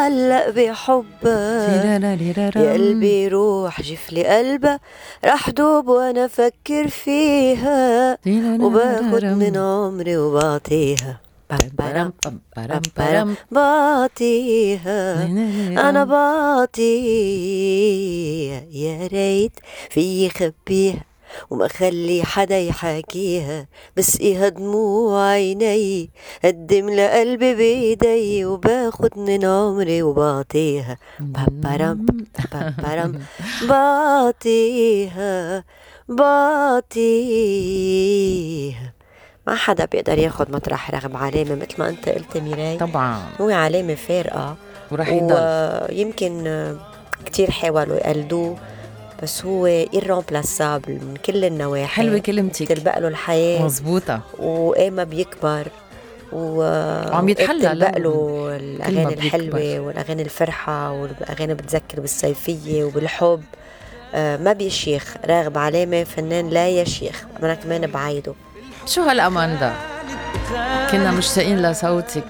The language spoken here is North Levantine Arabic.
متعلق بحبها، يا قلبي روح جفلي قلبها، رح دوب وانا فكر فيها وباخد من عمري وبعطيها. بعطيها أنا بعطيها، يا ريت في خبيها وما خلي حدا يحاكيها، بسقيها دموع عيني قدم لقلبي بيدي وباخد من عمري وبعطيها. بعطيها بعطيها. ما حدا بيقدر ياخد مطرح رغم علامة متل ما انت قلت ميراي. طبعا هو علامة فارقة ورح يضل. يمكن كتير حاولوا يقلدوه بس هو irreplaçable من كل النواحي. حلوة كلمتك، تلبق له الحياة مزبوطة، وقاما بيكبر وعم يتحلى تلبق له الأغاني الحلوة بيكبر. والأغاني الفرحة والأغاني بتذكر بالصيفية وبالحب. ما بيشيخ راغب علامة فنان لا يشيخ. أنا كمان بعيده. شو هالأمان ده، كنا مشتاقين لصوتك.